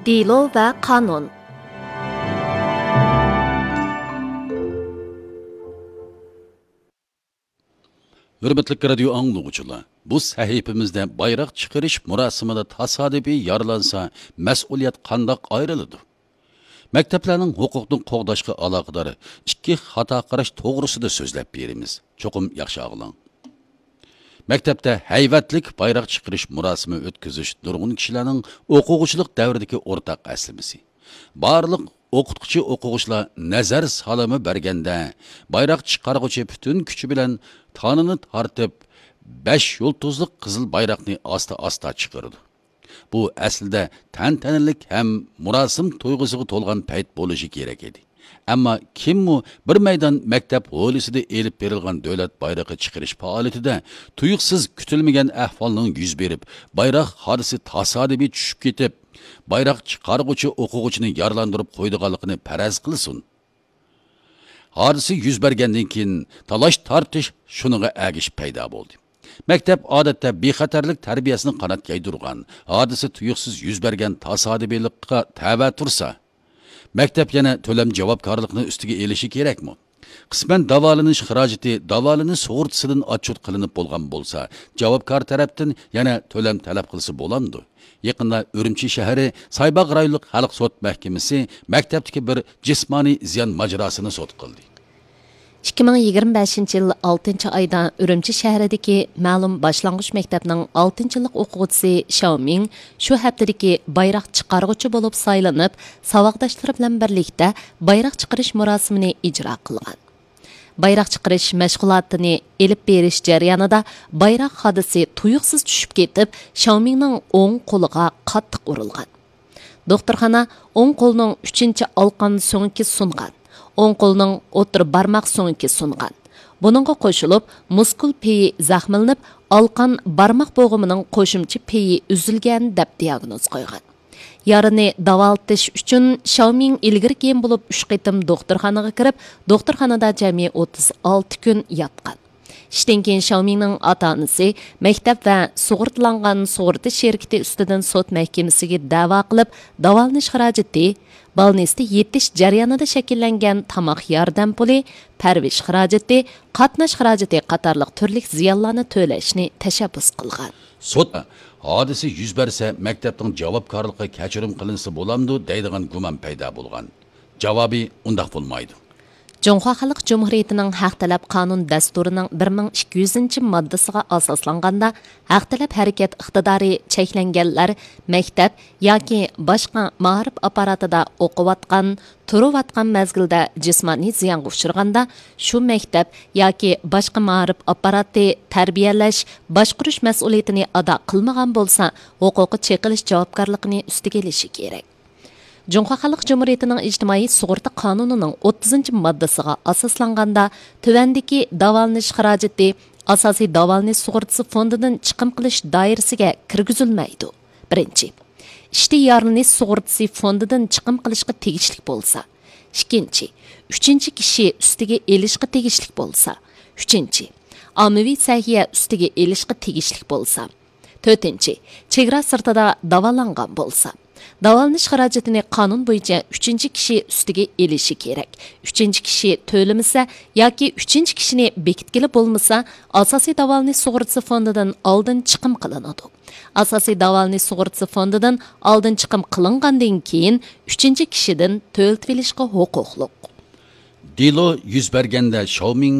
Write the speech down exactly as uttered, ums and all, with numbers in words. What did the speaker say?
دېلو ۋە قانۇن. ھۆرمەتلىك رادىيو ئاڭلىغۇچىلار، بۇ سەھىپىمىزدە بايراق چىقىرىش مۇراسىمىدا تاسادىپىي يارىلانسا، مەسئۇلىيەت قانداق ئايرىلىدۇ؟ مەكتەپلەرنىڭ ھوقۇقنى قوغداشقا ئالاقىدار ئىككى خاتا قاراش توغرىسىدا سۆزلەپ بېرىمىز. چوقۇم ياخشى ئاڭلاڭ. مەكتەپتە ھەيۋەتلىك بايراق چىقىرىش مۇراسىمى ئۆتكۈزۈش نۇرغۇن كىشىلەرنىڭ ئوقۇغۇچىلىق دەۋرىدىكى ئورتاق ئەسلىمىسى. بارلىق ئوقۇتقۇچى ئوقۇغۇچىلار نەزەر سالىمى بەرگەندە، بايراق چىقارغۇچى پۈتۈن كۈچى بىلەن تانىنى تارتىپ، بەش يۇلتۇزلۇق قىزىل بايراقنى ئاستا-ئاستا چىقىرىدۇ. بۇ ئەسلىدە تەنتەنىلىك ھەم مۇراسىم تۇيغۇسىغا تولغان پەيت بولۇشى كېرەك ئىدى. ئەمما كىممۇ بىر مەيدان مەكتەپ ھويلىسىدا ئېلىپ بېرىلغان دۆلەت بايرىقى چىقىرىش پائالىيىتىدە تۇيۇقسىز كۈتۈلمىگەن ئەھۋالنىڭ يۈز بېرىپ، بايراق ھادىسى تاسادىپىي چۈشۈپ كېتىپ، بايراق چىقارغۇچى ئوقۇغۇچىنى يارىلاندۇرۇپ قويىدىغانلىقىنى پەرەز قىلسۇن. ھادىسە يۈز بەرگەندىن كېيىن تالاش-تارتىش شۇنىڭغا ئەگىشىپ پەيدا بولدى. مەكتەپ ئادەتتە بىخەتەرلىك تەربىيەسىنى قانات يايدۇرغان، ھادىسە تۇيۇقسىز يۈز بەرگەن تاسادىپىيلىققا تەۋە تۇرسا، مەكتەپ يەنە تۆلەم جاۋابكارلىقىنى ئۈستىگە ئېلىشى كېرەكمۇ؟ قىسمەن داۋالىنىش خىراجىتى داۋالىنىش سۇغۇرتىسىدىن ئاتچوت قىلىنىپ بولغان بولسا، جاۋابكار تەرەپتىن يەنە تۆلەم تەلەپ قىلسا بولامدۇ؟ يېقىندا ئۈرۈمچى شەھىرى سايباغ رايونلۇق خەلق سوت مەھكىمىسى مەكتەپتىكى بىر جىسمانىي زىيان ماجىراسىنى سوت قىلدى. ئىككى مىڭ يىگىرمە بەشىنچى يىل ئالتىنچى ئايدا ئۈرۈمچى شەھىرىدىكى مەلۇم باشلانغۇچ مەكتەپنىڭ ئالتىنچى يىللىق ئوقۇغۇچىسى شياۋ مىڭ شۇ ھەپتىدىكى بايراق چىقارغۇچى بولۇپ سايلىنىپ، ساۋاقداشلىرى بىلەن بىرلىكتە بايراق چىقىرىش مۇراسىمىنى ئىجرا قىلغان. بايراق چىقىرىش مەشغۇلاتىنى ئېلىپ بېرىش جەريانىدا بايراق ھادىسى تۇيۇقسىز چۈشۈپ كېتىپ، شياۋ مىڭنىڭ ئوڭ قولىغا قاتتىق ئۇرۇلغان. دوختۇرخانا ئوڭ قولنىڭ ئۈچىنچى ئالقان سۆڭىكى سۇنغان، ئوڭ قولنىڭ ئوتتۇرا بارماق سۆڭىكى سۇنغان. بۇنىڭغا قوشۇلۇپ، مۇسكۇل پېيى زەخىملىنىپ، ئالقان بارماق بوغۇمىنىڭ قوشۇمچە پېيى ئۈزۈلگەن، دەپ دىياگنوز قويغان. يارىنى داۋالىتىش ئۈچۈن شياۋ مىڭ ئىلگىرى كېيىن بولۇپ ئۈچ قېتىم دوختۇرخانىغا كىرىپ، دوختۇرخانىدا جەمئىي ئوتتۇز ئالتە كۈن ياتقان. ئىشتىن كېيىن شياۋ مىڭنىڭ ئاتا-ئانىسى مەكتەپ ۋە سۇغۇرتىلانغان سۇغۇرتا شىركىتى ئۈستىدىن سوت مەھكىمىسىگە دەۋا قىلىپ، داۋالىنىش خىراجىتى، بالنىستە يېتىش جەريانىدا شەكىللەنگەن تاماق ياردەم پۇلى، پەرۋىش خىراجىتى، قاتناش خىراجىتى قاتارلىق تۈرلۈك زىيانلارنى تۆلەشنى تەشەببۇس قىلغان. سوت ھادىسە يۈز بەرسە، مەكتەپنىڭ جاۋابكارلىقىغا كەچۈرۈم قىلىنسا بولامدۇ دەيدىغان گۇمان پەيدا بولغان. جاۋابى ئۇنداق بولمايدۇ. جۇڭخۇا خەلق جۇمھۇرىيىتىنىڭ ھەق تەلەپ قانۇن دەستۇرىنىڭ بىر مىڭ ئىككى يۈزىنچى ماددىسىغا ئاساسلانغاندا، ھەق تەلەپ ھەرىكەت ئىقتىدارى چەكلەنگەنلەر مەكتەپ ياكى باشقا مائارىپ ئاپپاراتىدا ئوقۇۋاتقان، تۇرۇۋاتقان مەزگىلدە جىسمانىي زىيانغا ئۇچرىغاندا، شۇ مەكتەپ ياكى باشقا مائارىپ ئاپپاراتى تەربىيەلەش، باشقۇرۇش مەسئۇلىيىتىنى ئادا قىلمىغان بولسا، ھوقۇقى چېقىلىش جاۋابكارلىقىنى ئۈستىگە ئېلىشى كېرەك. جۇڭخۇا خەلق جۇمھۇرىيىتىنىڭ ئىجتىمائىي سۇغۇرتا قانۇنىنىڭ ئوتتۇزىنچى ماددىسىغا ئاساسلانغاندا، تۆۋەندىكى داۋالىنىش خىراجىتى ئاساسىي داۋالىنىش سۇغۇرتىسى فوندىدىن چىقىم قىلىش دائىرىسىگە كىرگۈزۈلمەيدۇ. بىرىنچى، ئىشتىن يارىلىنىش سۇغۇرتىسى فوندىدىن چىقىم قىلىشقا تېگىشلىك بولسا. ئىككىنچى، ئۈچىنچى كىشى ئۈستىگە ئېلىشقا تېگىشلىك بولسا. ئۈچىنچى، ئاممىۋى سەھىيە ئۈستىگە ئېلىشقا تېگىشلىك بولسا. تۆتىنچى، چېگرا سىرتىدا داۋالانغان بولسا. داۋالىنىش خىراجىتىنى قانۇن بويىچە ئۈچىنچى كىشى ئۈستىگە ئېلىشى كېرەك. ئۈچىنچى كىشى تۆلىمىسە ياكى ئۈچىنچى كىشىنى بېكىتكىلى بولمىسا، ئاساسىي داۋالىنىش سۇغۇرتىسى فوندىدىن ئالدىن چىقىم قىلىنىدۇ. ئاساسىي داۋالىنىش سۇغۇرتىسى فوندىدىن ئالدىن چىقىم قىلىنغاندىن كېيىن، ئۈچىنچى كىشىدىن تۆلىتىۋېلىشقا ھوقۇقلۇق. دېلو يۈز بەرگەندە شاۋمىڭ